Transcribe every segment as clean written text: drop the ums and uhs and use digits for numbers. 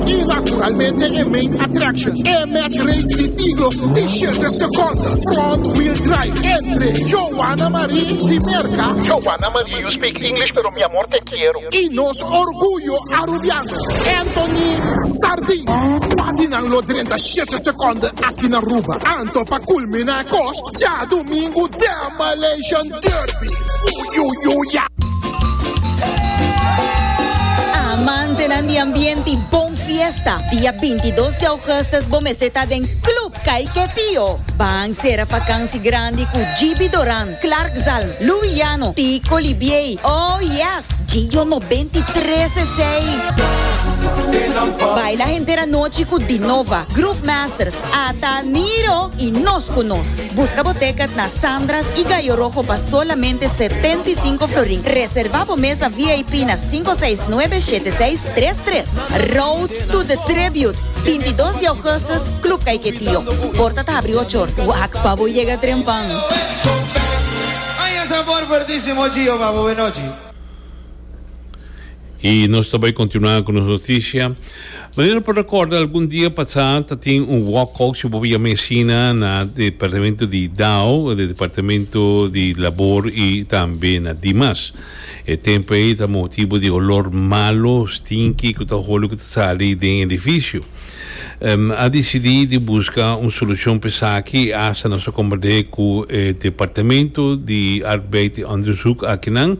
Y naturalmente e main attraction, e match race di siglo di shete seconde, front wheel drive, entre Joanna Marie di Merca, Joanna Marie, you speak English pero mi amor te quiero. Y nos orguyo Arubiano, Anthony Sardin. Cua di nan lo drenta shete seconde aki na Aruba? Anto pa culmina e cos, djadumingu Demolition Derby! Uyuyuya! Amantenan di ambiente y bon fiesta, dia 22 di augustus bo mester ta den Club Caiquetio. Ban cera vakantie grandi cu GB Doran, Clark Zalm, Louis Llano, Tico Libiey, oh yes, Gio 93 esey. Baila henter anochi cu Dinova, Groove Masters, Ata Niro y Nos Cu Nos. Busca bo ticket na Sandra's y Gallo Rojo pa solamente 75 florin. Reserva bo mesa VIP na 569 7633. Road to the Tribute, 22 di augustus, Club Caiquetio. Porta ta habri ocho or. Wak pa bo yega trempan. Aña sabor fuertísimo Gio pa bo benochi. Y nos ta bay continua cu nos noticia. Manera por recorda algun dia pasa ta tin un walkout si bo yama asina na departamento di dao, de departamento di labor y tambe na Dimas. E tempo ey ta motibo di olor malo, stinky cu ta holi cu ta sali den edificio. A dicidi di busca un solucion pa esaki y hasta nos a comprende cu e departamento di Arbeid y Onderzoek akinan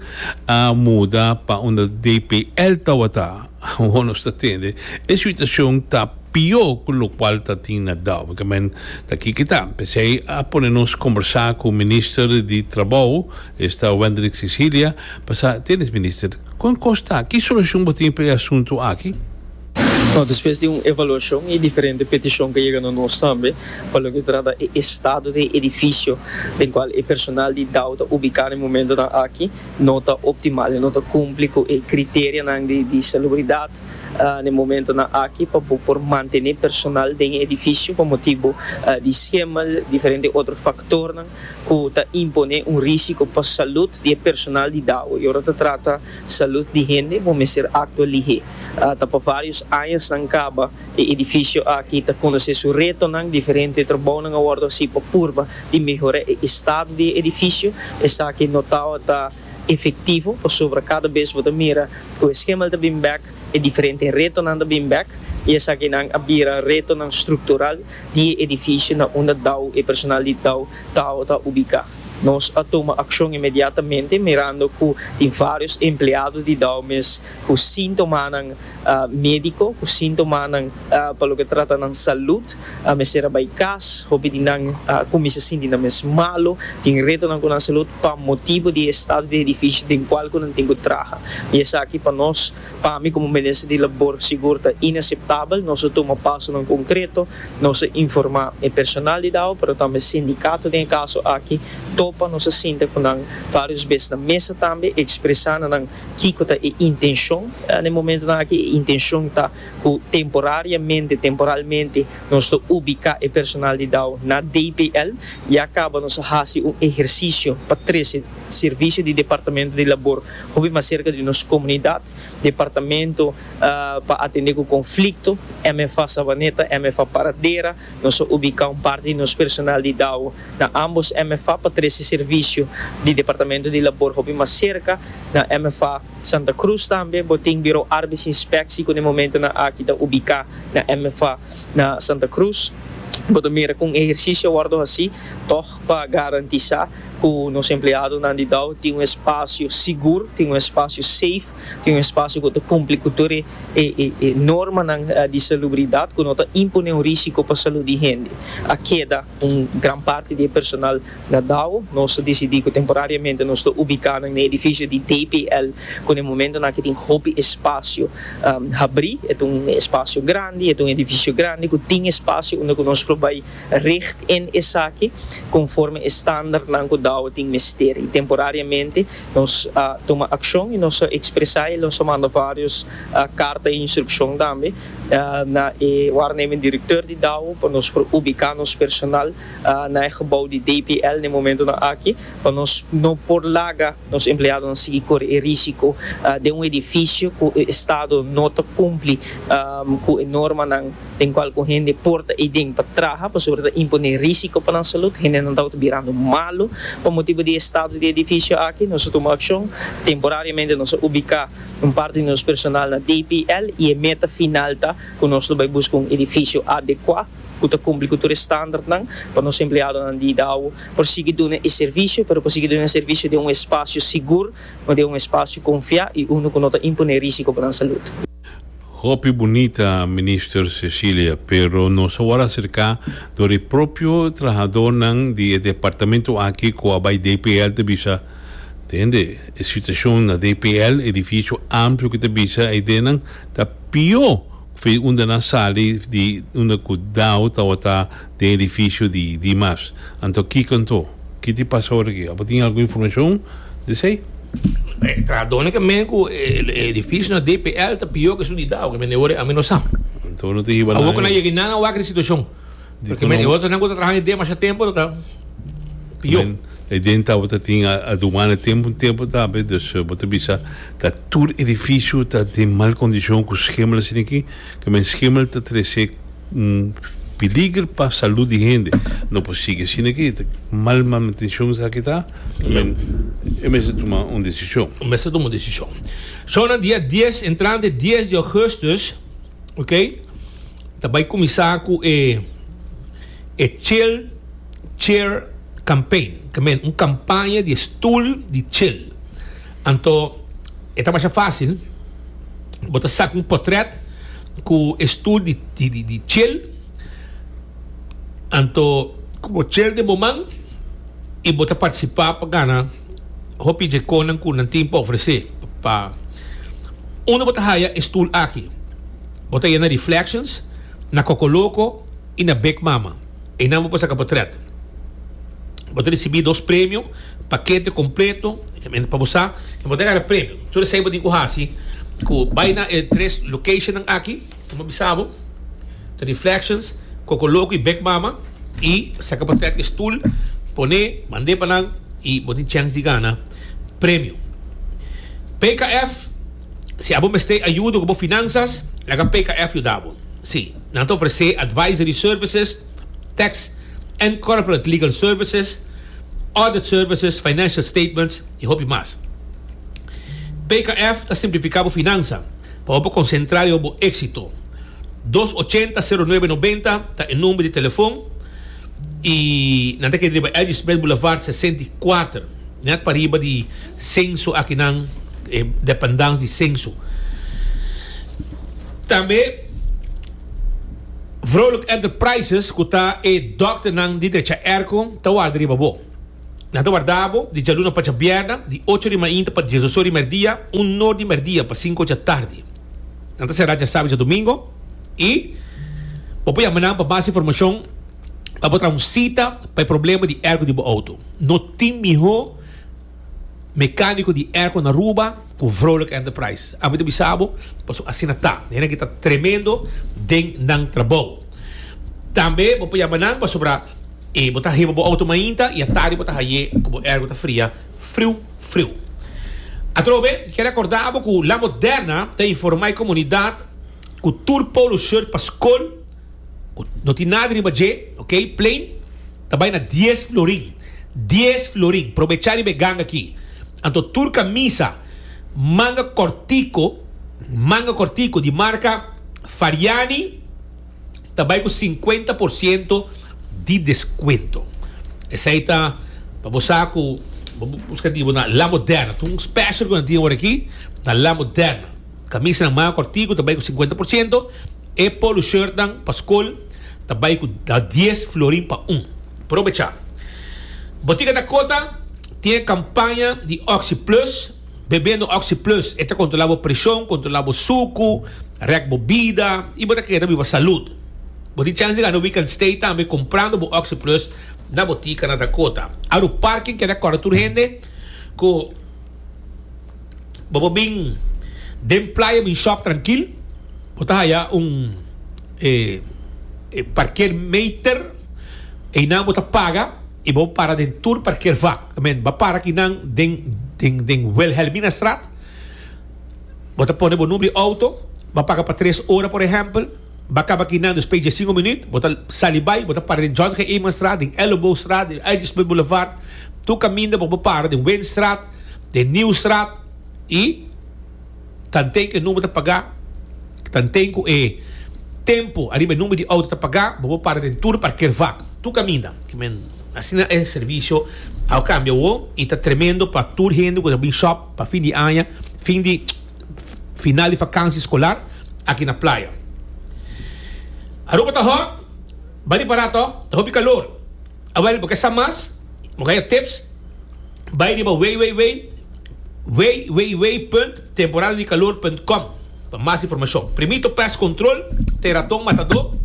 a muda pa unda DPL tawata. Awor nos ta tende e situacion ta pio cu locual ta tin na Dao. Ke men ta kiko ta. P'esey a pone nos combersa cu Minister di Trabou, esta Wendrick Cecilia, pa sa, Tienes Minister, con cos ta? Ki solucion bo tin pa e asunto aki? No, despues di un evaluashon i diferente petishon ku a yega na nos tambe pa loke ta trata e estado di e edifisio den kual e personal di dao ta ubiká na e momentonan aki no ta optimal, e no ta kumpli ku e kriterianan di salubridat na e momentonan aki pa bo por mantené personal den e edifisio pa motibu di schimmel, diferente otro faktornan ku ta imponé un risiko pa salud di e personal di dao. I ora ta trata salud di hende bo mester aktua lihé. Ta pa varios añasnan kaba e edifisio aki ta konosé su retonan, diferente trabounan a wòrdu hasí pa purba di mehorá e estado di e edifisio. Esaki no tabata efektivo pasobra kada bes bo ta mira ku e schimmel ta bin bèk, e diferente retonan ta bin bèk i esakinan a bira retonan struktural di e edifisio na unda dao e personal di dao tabata ubiká. Nos a tuma akshon inmediatamente mirando ku tin vários empleado di dao mes ku síntomanan médiko, ku síntomanan pa loke trata nan salud, a mester a bai kas, hopi di nan a kuminsá sinti nan mes malu, tin retonan ku nan salud pa motibu di e estado di edifisio den kual ku nan tin ku traha. I esaki pa nos, pa mi komo minister di labor sigur ta inaseptabel. Nos a tuma pasonan konkreto, nos a informá e personal di dao, pero tambe sindikato den e kaso aki topa, nos a sinta ku nan vários bes na mesa tambe, ekspresá na nan Kiko ta e intenshon na e momentonan aki? E intenshon ta ku temporariamente, temporalmente, nos ta ubiká e personal di dao na DPL. Ya kaba nos a hasi un ehersisio pa trese servisio di Departamento di Labor hopi mas serka di nos komunidat. Departamento pa atendé ku konflikto, MFA Savaneta, MFA Paradera, nos a ubiká un parti di nos personal di dao na ambos MFA pa trese servisio di Departamento di Labor hopi mas serka. Na MFA Santa Cruz tambe bo tin Biro Arbeidsinspectie ku na e momentonan aki ta ubiká na MFA na Santa Cruz. Bo ta mira kon ehersisio a wòrdu hasí tòg pa garantisá ku nos empleadonan di dao tin un espasio sigur, tin un espasio safe, tin un espasio ku ta kumpli ku tur e e normanan di salubridat ku no ta imponé un risiko pa salud di hende. A keda un gran parti di e personal Na Dao, nos a disidí ku temporariamente nos ta ubiká nan na e edifisio di DPL, ku na e momentonan aki tin hopi espasio habrí. E ta un espasio grandi, e ta un edifisio grandi ku tin espasio unda ku nos por bai richt in esaki konforme e standardnan ku Dao tin mester. I temporariamente nos a tuma akshon i nos a ekspresá i nos a manda vários karta i instrukshon tambe. na e waarnemend directeur di dao pa nos por ubica nos personal na e gebouw di DPL na e momentonan aki pa nos no por laga nos empleadonan sigui kore e risico den un edificio cu e estado no ta cumpli cu e normanan den cual cu hende por ta eyden pa traha pasobra ta impone risico pa nan salud. Hendenan tabata birando malo pa motibo di e estado di e edificio aki. Nos a tuma accion. Temporariamente nos a ubica un parti di nos personal na DPL y e meta final ta cu nos lo bay busca un edificio adecua cu ta cumpli cu tur e standardnan pa nos empleadonan di dao por sigui duna e servicio, pero por sigui duna e servicio den un espacio sigur, den un espacio confia y uno cu no ta impone risico pa nan salud. Hopi bunita Minister Cecilia, pero nos a wòrdu aserká dor e propio trahadornan di e departamento aki ku a bai DPL ta bisa, Tende, e situashon na DPL, edifisio amplio ku ta bisa eidenan, ta pió ku unda nan sali di unda ku dao tabata den edifisio di Dimas. Anto kiko anto? Ki ti pasa ora aki? Abo tin algun informashon di esei? E trahadónan ke men ku e edifisio na DPL ta pió ku esun di dao, ke men e ora ami no sa. Anto no ta hiba nan. Awor ku nan yega nan a wak di situashon. Porque men e otronan ku ta traha den masha tempu ta pió. E den tabata tin aduana tempu tempu tambe, dus bo ta bisa ta tur edifisio ta den mal kondishon ku schimmel asina aki, ke men schimmel ta trese un peliger pa salud di hende. No por sigui asina aki, ta mal manutenshon esaki ta, men e mester tuma un desishon. Mester tuma un desishon. Shownan dia dies entrante dies di augustus, ok, ta bai kuminsá ku e e chill chair campaign, ke men un kampaña di e stul di chill. Anto e ta masha fásil. Bo ta saka un potret ku e stul di di di chill, anto ku bo chill den bo man i bo ta partisipá pa gana hopi dje konan ku nan tin pa ofresé pa unda bo ta haya e stul aki. Bo ta haya na Reflections, na Kokoloko i na Big Mama. Einan bo por saka potret. Bo ta risibí dos premio, pakete kompleto, pa bo sa ku bo ta gana premio. Tur esei bo tin ku hasi ku bai na e tres locationnan aki, ku mi a bisa bo, ta Reflections, Kokoloko i Big Mama, i saka potret ku e stul, pone, mand'é pa nan i bo tin chèns di gana premio. PKF, Si abo mester ayudo ku bo finansas, laga PKF yuda bo. Sí, nan ta ofresé advisory services, tax and corporate legal services, audit services, financial statements i hopi mas. PKF ta simplifiká bo finansa pa bo por konsentrá riba bo éksito. Dos ochenta sero nuebe nobenta ta e number di telefon i nan ta keda riba LG. Smith Boulevard 64, nèt pariba di Censo akinan, e dependance di Censo. Tambe Vrolijk Enterprises ku ta e dòkternan di drecha erko ta warda riba bo. Nan ta warda bo di djaluna pa djabièrnè di ocho di mainta pa diesdos or di mèrdia, un nor di mèrdia pa sinku or djatardi. Nan ta será djasabi djadumingo i bo por yama nan pa mas informashon pa bo traha un sita pa e problema di erko di bo outo. No tin mihó. Mecanico di airco na Aruba cu Vrolijk Enterprise. Ami ta bisa bo, pasobra asina ta. Hende aki ta tremendo den nan trabou. Tambe bo por yama nan pasobra e bo ta heba bo auto mainta y atardi bo ta haye cu bo airco ta fria friu friu. Atrobe, kier acorda bo cu La Moderna ta informa e comunidad cu tur polo shirt pa scol cu no tin nada riba dje, ok, plain, ta bai na dies florin. Dies florin. Probechá riba e ganga aki. Anto tur kamisa manga kòrtiku, manga kòrtiku di marka Fariani ta bai ku sinkuenta por siento di deskuento. Esei ta pa bo sa ku bo buska di bo na La Moderna. Ta un special ku nan tin awor aki na La Moderna. Kamisanan manga kòrtiku ta bai ku sinkuenta por siento. E polo shirtnan pa skol ta bai ku dies florin pa un. Probecha. Botica Dakota tin e kampaña di Oxi Plus. Bebendo Oxi Plus e ta kontrola bo preshon, kontrola bo suku, rèk bo bida i bo ta keda biba salud. Bo tin chèns di gana weekend stay tambe komprando bo Oxi Plus na Botica na Dakota. Aru Parking keda kòrda tur hende ku bo por bin den playa bin shop trankil. Bo ta haya un. e e parkeermeter, einan bo ta paga y bo para den tur parkeervak. I mean, bo a para kinan den den den Wilhelminastraat, bo ta pone bo number di auto, bo a paga pa tres ora por ehempel, bo a caba kinan despues di diescinco minuut, bo ta sali bay, bo ta para den John G. Emanstraat, den Elleboogstraat, den Uitjespunt Boulevard, tur caminda bo por para den Winstraat, den Nieuwstraat y. Tanten ku e number ta pagá, tanten ku e tempu ariba e number di outo ta pagá, bo por para den tur parkeervak, tur kaminda. Asina e servisio a kambia awor i ta tremendo pa tur hende ku ta bin shop pa fin di aña, fin di final di vakansi skolar aki na playa. Aruba ta hot, bai ripará tòg, ta hopi kalor. Awel, bo ke sa mas? Bo ke haya tips? Bai riba www www.temporadadicalor.com pa mas informashon. Primito Pest Control ta e raton matadó.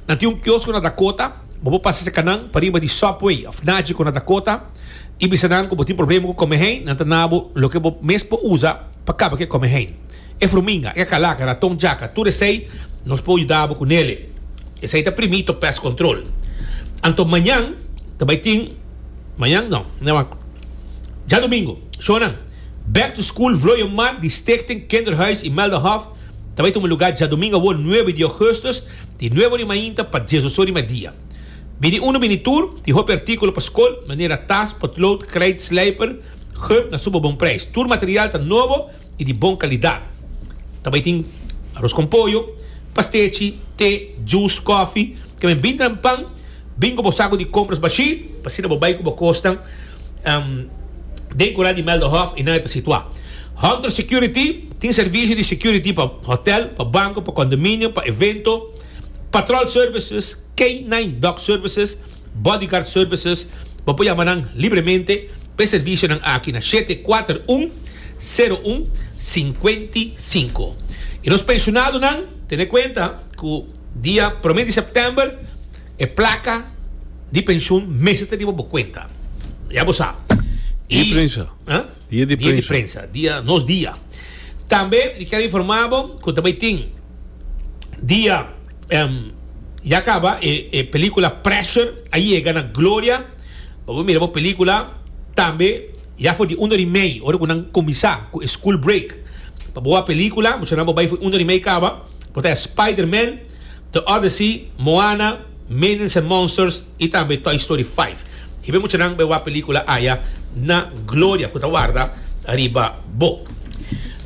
Nan tin un kiosko na Dakota. Bo por pasa serka nan pariba di Subway òf Nagico na Dakota i bisa nan ku bo tin problema ku komehein. Nan ta na bo loke bo mes por usa pa kaba ku e komehein. E fruminga, e kakalaka, raton djaka, tur esei nos por yuda bo ku nele. Esei ta Primito Pest Control. Anto mañan ta bai tin. Mañan no, no djadomingo, shownan Back to School Vlooienmarkt di Stichting Kinderhuis Imeldahof ta bai tuma lugar djadomingo awor nuebe di augustus di nuebe ora di mainta pa diesdos ora di merdia. Bini uno bini tur, tin hopi articulo pa scol manera tas, potlood, krijt, slijper, gum na super bon prijs. Tur material ta nobo y di bon calidad. Ta bai tin aros con pollo, pastechi, te, juice, koffie, ke men bin tran pan. Bin ku bo saku di kompras bashí, pa asina bo bai ku bo kosnan den kura di Melderhof i nan e ta situá. Hunter Security tin servisio di security pa hotel, pa banko, pa kondominio, pa evento, patrol services, K-nine dog services, bodyguard services. Bo por yama nan libremente pa e servisionan aki na shete kuater un, sero un, sinkuenti sinku. I nos penshonadonan tene kuenta ku dia promé di sèptèmber, E placa di pensioen mester ta riba bo cuenta. Ya bo sa. Dia di prensa. Huh? Dia di Dia di prensa. prensa. Dia, nos dia. Tambe mi kier informa bo cu ta bay tin dia em, ya caba e, e pelicula Pressure a yega na Gloria. Bo por mira bo pelicula tambe ya for di un ora y mei ora cu nan cuminsa cu e school break. Pa bo wak pelicula, muchanan bo bay for un ora y mei caba. Bo ta Spider-Man. The Odyssey, Moana, Minions and Monsters y tambe Toy Story 5. Hiba e muchanan bai wak pelicula aya na Gloria cu ta warda riba bo.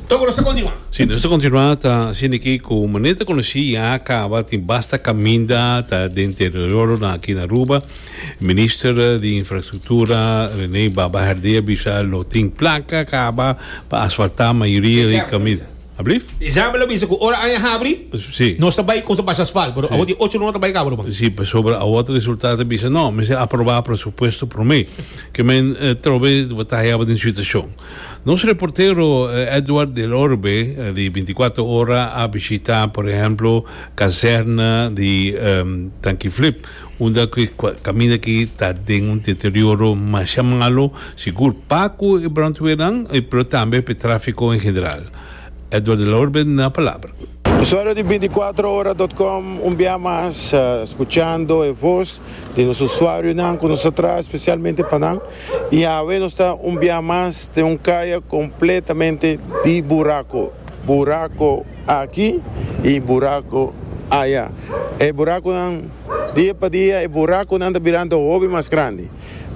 Toco nos ta continua. Si, nos ta continua ta haciendo aki cu manera ta conoci ya caba tin basta caminda ta den deterioro na aki na Aruba. Minister di Infrastructura Rene Baba Herdé a bisa lo tin placa caba pa asfalta mayoria di caminda. Ablief? Isabel a bisa ku ora aña habri, Sí. nos ta bai kon sa basha asfalt, pero awor di ocho luna ta bai kaba ruman. Sí, pasobra awor ta resulta ta bisa no, mester aproba presupuesto prome. Ke men trobe bo ta haya bo den situashon. Nos reportero Edward del Orbe di 24 Ora a bishita por ehemplo kazerna di Tanki Flip. Unda ku e kaminda aki ta den un deterioro masha malo, sigur pa ku e brandweernan, pero tambe pa e trafiko en general. Edward de la Orbe na palabra. Usuario di binticuatro ora dot com un bia mas scuchando e voz di nos usuarionan cu nos ta traha especialmente pa nan y awe nos ta un bia mas den un caya completamente di buraco, buraco aki y buraco aya. E buraconan. Dia pa dia e burakunan ta birando hopi mas grandi.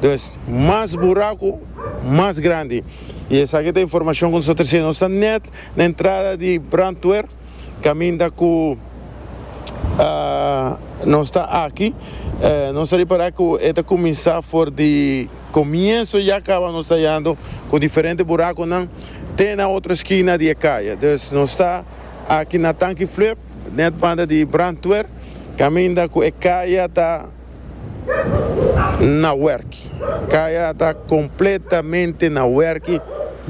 Dus mas buraku, mas grandi. I esaki ta informashon ku nos ta trese. Nos ta nèt na entrada di brandweer, kaminda ku nos ta aki. Nos ta ripará ku e ta kuminsá for di komienso ya kaba nos ta yando ku diferente burakunan te na otro skina di e kaya. Dus nos ta aki na Tanki Flip. Net banda di brandweer caminda cu e caya ta na werki. Caya ta completamente na werki,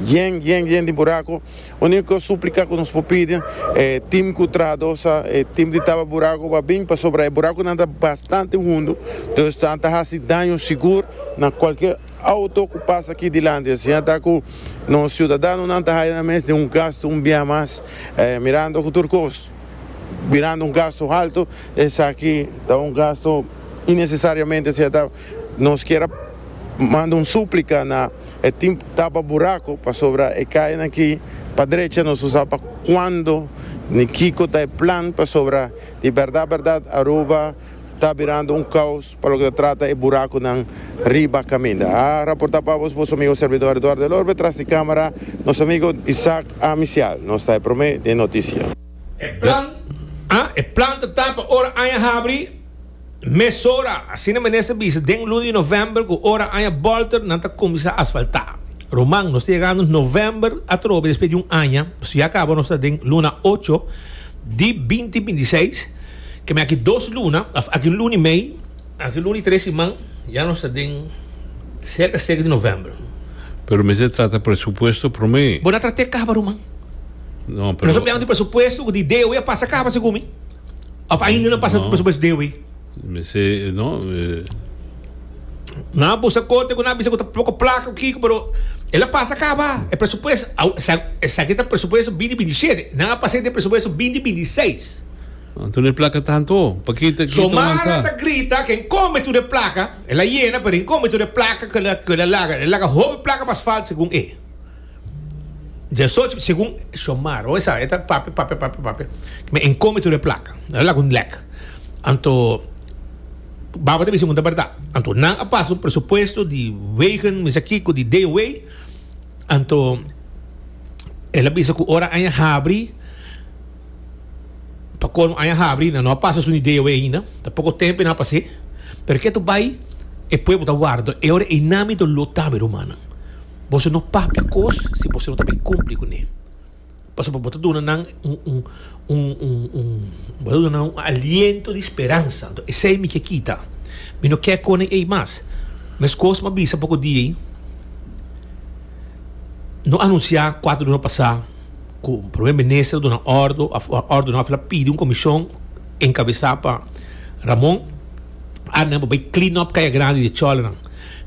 yen yen yen di buraco. Unico suplica cu nos por pidi e team cu trahador sa e team di taba buraco pa bin pasobra e buraconan ta bastante hundo, dus nan ta haci daño sigur na cualkier auto cu pasa aki dilanti. Asina ta cu nos ciudadanonan ta haya nan mes den un gasto un bia mas mirando cu tur cos. birando un gasto halto, esaki ta un gasto innecesariamente sea ta nos kier a manda un suplica na e team tapa buraco pasobra e cayanan aki pa drecha nos no sa pa cuando ni kico ta e plan pasobra di berdad berdad Aruba ta birando un caos pa loke ta trata e buraconan riba caminda. A raporta pa bos boso amigo servidor Eduardo El Orbe tras di camara nos amigo Isaac Amicial. Nos ta e prome den noticia. E plan a e plan ta ta pa ora aña habri mesora, asina minister bisa den luna di november ku ora aña bolter nan ta kuminsá asfaltá. Ruman, nos ta yegando november atrobe despues di un aña, pasobra ya kaba nos ta den luna ocho di binti binti seis, ke men aki dos luna, òf aki un luna i mei, aki un luna i tres siman ya nos ta den serka serka di november. Pero mester trata presupuesto promé. Bo na trat'é kaba ruman. No, pero. Nos a biaha di presupuesto ku di DOE a pasa kaba segun mi. Of ainda no pasa presupuesto DOE. Mester, no. Nan a buska kote ku nan a bisa ku ta poko plaka ku kiko, pero el a pasa kaba e presupuesto. Esaki ta presupuesto binti binti shete. Nan a pas'é den presupuesto binti binti seis. Anto no e plaka tanto. Paki ta Xiomara ta grita ku en kome tur e plaka. El a yena, pero en kome tur e plaka ku el a laga. El a laga hopi plaka pa asfalt segun e. Diesocho, segun Xiomara, bo sa, e ta papia, papia, papia, papia. Me en kome tur e plaka. El a laga un lek. Anto, baba ta bisa ku ta bèrdat. Anto, nan a pasa un presupuesto di wegen, mi sa kiko, di DOW. Anto, el a bisa ku ora aña habri, pa colmo aña habri, nan no a pasa su ni DOW ainda. Ta poko tempo nan a pas'é. Pero ke tu bai, e pueblo ta warda. E ora einan mi doló tambe, rumannan. Boso no papia kos si boso no ta bin kumpli kuné. Pasobra bo ta duna nan un un un un un bo ta duna nan un aliento di speransa. Anto esei mi ke kita. Mi no ke konen ei mas. Meskos mi a bisa poko dia ei, no anunsiá kuater luna pasá ku Prome Minister a duna òrdu òf òrdu no, a pidi un komishon enkabesá pa Ramon. Arnan pa bai clean up Kaya Grandi di chòlenan.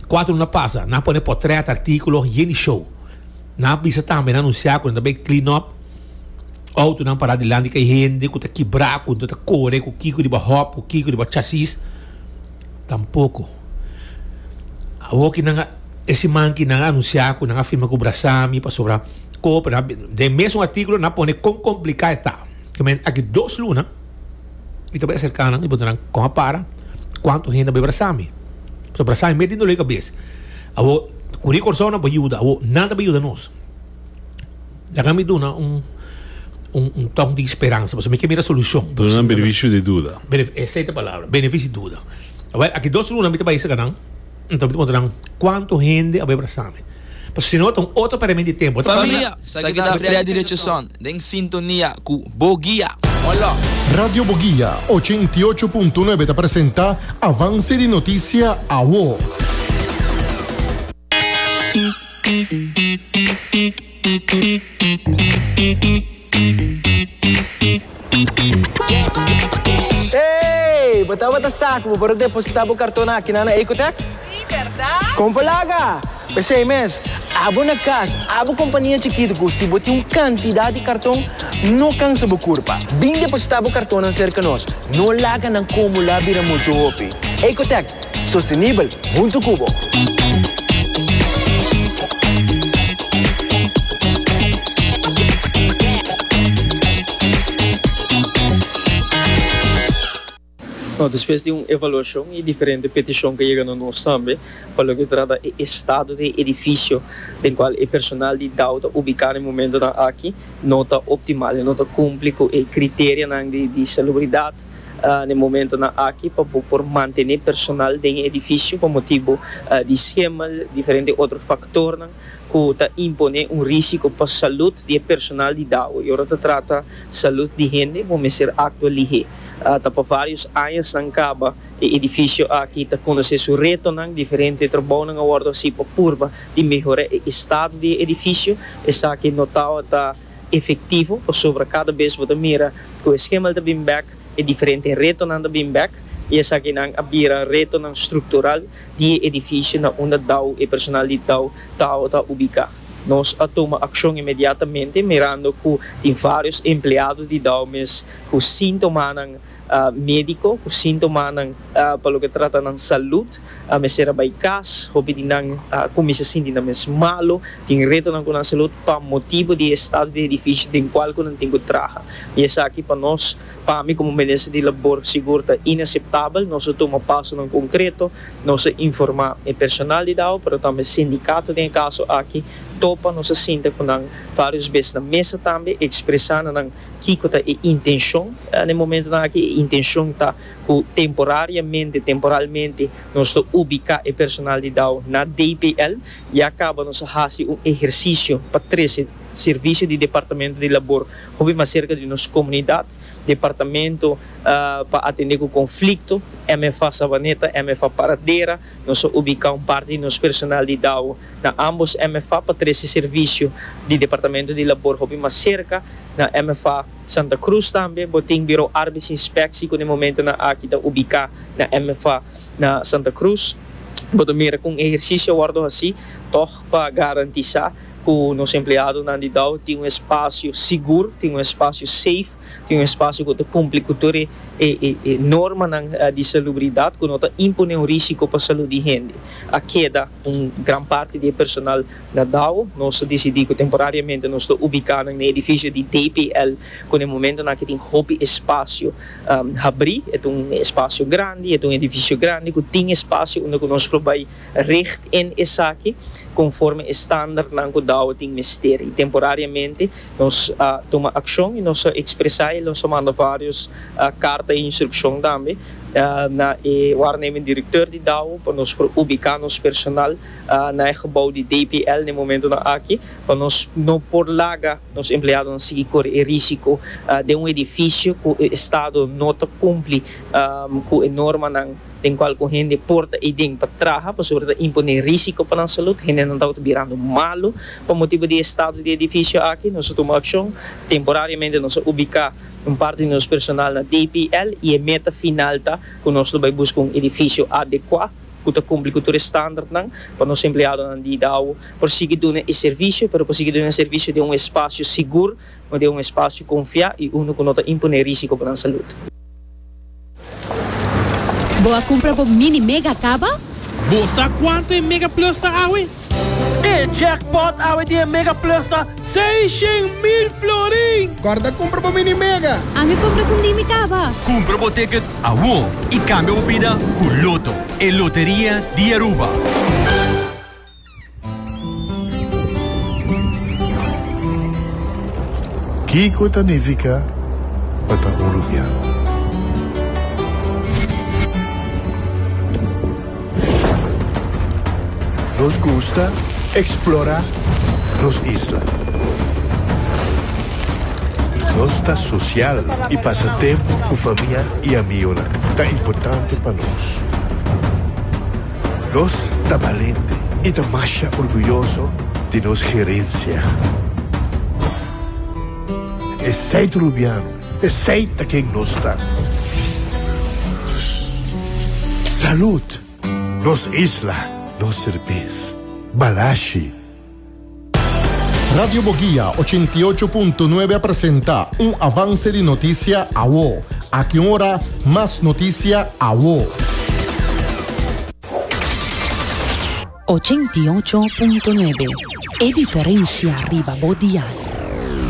Kuater luna pasa, nan a pone potrèt, artíkulo, yen di show. Nan a bisa tambe, nan a anunsiá ku nan ta bai clean up outonan pará dilanti di kay hende ku ta kibrá, ku ta kore, ku kiko riba hòp, ku kiko riba chasis. Tampoko. Awor ki nan a, e siman ki nan a anunsiá ku nan a firma ku Brasami pasobra koper, nan a, den mesun artíkulo nan a pone kon kompliká e ta. Aki dos luna. Mi ta bai aserká nan i puntra nan, Kon a para? Kuantu hende a bai brasá mi? Pasobra brasá mi mes tin doló di kabes. Awor, ku di Kòrsou nan por yuda. Awor, nan ta bai yuda nos. Laga mi duna un un un tòk di speransa, pasobra mi ke mira solushon. Duna nan benefisio di duda. Esei ta e palabra, benefisio di duda. Awor, aki dos luna mi ta bai aserka nan, anto mi ta puntra nan, Kuantu hende a bai brasá mi? Pasobra si no ta un otro pèrdimento di tempu. Familia, sa ki ta Freddy Richardson den sintonia ku Bo Guia. Hola! Radio Boguia 88.9 ta presenta Avance di Noticia Awo. Hey! Bo tabata sa ku bo por a depositá bo karton aki na na Ecotech? Sí, bèrdat? Kon por laga! P'esei mes, abo na kas, abo kompania chikitu ku si bo tin un kantidat di karton, no kansa bo kurpa. Bin depositá bo kartonnan serka nos. No laga nan kumulá bira muchu hopi. Ecotech, sostenibel huntu ku bo! No, despues di un evaluashon i diferente petishon ku a yega na nos tambe pa loke ta trata e estado di e edifisio den kual e personal di dao ta ubiká na e momentonan aki no ta optimal, e no ta kumpli ku e kriterianan di salubridat na e momentonan aki pa bo por mantené personal den e edifisio pa motibu di schimmel, diferente otro faktornan ku ta imponé un risiko pa salud di e personal di dao. I ora ta trata salud di hende bo mester aktua lihé. Ta pa varios añasnan kaba e edifisio aki ta konosé su retonan, diferente trabounan a wòrdu hasí pa purba di mehorá e estado di e edifisio. Esaki no tabata efektivo pasobra kada bes bo ta mira ku e schimmel ta bin bèk, e diferente retonan ta bin bèk i esakinan a bira retonan struktural di e edifisio na unda dao e personal di dao tabata ubiká. Nos a tuma akshon inmediatamente mirando ku tin vários empleado di dao mes ku síntomanan médiko, ku síntomanan pa loke trata nan salud a mester a bai kas. Hopi di nan a kuminsá sinti nan mes malu, tin retonan ku nan salud pa motibu di e estado di edifisio den kual ku nan tin ku traha. I esaki pa nos, pa mi komo minister di labor sigur ta inaseptabel. Nos a tuma pasonan konkreto, nos a informá e personal di dao pero tambe sindikato den e kaso aki topa, nos a sinta ku nan vários bes na mesa tambe ekspresá na nan Kiko ta e intenshon na e momentonan aki? E intenshon ta ku temporariamente, temporalmente, nos ta ubiká e personal di dao na DPL. Ya kaba nos a hasi un ehersisio pa trese servisio di Departamento di Labor hopi mas serka di nos komunidat. Departamento pa atendé ku konflikto, MFA Savaneta, MFA Paradera, nos a ubiká un parti di nos personal di dao na ambos MFA pa trese servisio di Departamento di Labor hopi mas serka. Na MFA Santa Cruz tambe bo tin Biro Arbeidsinspectie ku na e momentonan aki ta ubiká na MFA na Santa Cruz. Bo ta mira kon ehersisio a wòrdu hasí tòg pa garantisá ku nos empleadonan di dao tin un espasio sigur, tin un espasio safe. Tin un espasio ku ta kumpli ku tur e e normanan di salubridat ku no ta imponé un risiko pa salud di hende. A keda un gran parti di e personal na dao. Nos a disidí ku temporariamente nos ta ubiká nan na e edifisio di DPL ku na e momentonan aki tin hopi espasio habrí. E ta un espasio grandi, e ta un edifisio grandi ku tin espasio unda ku nos por bai richt in esaki konforme e standardnan ku dao tin mester. I temporariamente Nos a tuma akshon i nos a ekspresá i nos a manda vários karta i instrukshon tambe na e waarnemend direkteur di dao pa nos por ubiká nos personal na e gebou di DPL na e momentonan aki pa nos no por laga nos empleadonan sigui kore e risiko den un edifisio ku e estado no ta kumpli ku e normanan. Den cual cu hende por ta eyden pa traha pasobra ta impone risico pa nan salud. Hendenan tabata birando malo pa motibo di e estado di e edificio aki. Nos a tuma accion. Temporariamente nos a ubica un parti di nos personal na DPL y e meta final ta cu nos lo bay busca un edificio adecua cu ta cumpli cu tur e standardnan pa nos empleadonan di dao por sigui duna e servicio, pero por sigui duna e servicio den un espacio sigur, den un espacio confia y uno cu no ta impone risico pa nan salud. Bo a cumpra bo mini mega caba? Bo sa cuanto e Mega Plus ta awe? E jackpot awe di e Mega Plus ta 600,000 florin! Corda cumpra bo mini mega! Ami cumpra esun di mi caba! Cumpra bo ticket awo y cambia bo bida cu Lotto, e loteria di Aruba. Kiko ta nifiká pa ta un rubiano? Nos gusta eksplorá nos isla. Nos ta sosial i pasa tempu ku famia i amionan ta importante pa nos. Nos ta balente i ta masha orguyoso di nos gerensia. Esei ta Rubiano, esei ta ken nos ta. Salud! Nos isla, nos serbes. Balashi! Radio Boguia 88.9 a presenta un avance di noticia awo. Aki un ora, mas noticia awo. 88.9 E diferencia riba bo dial.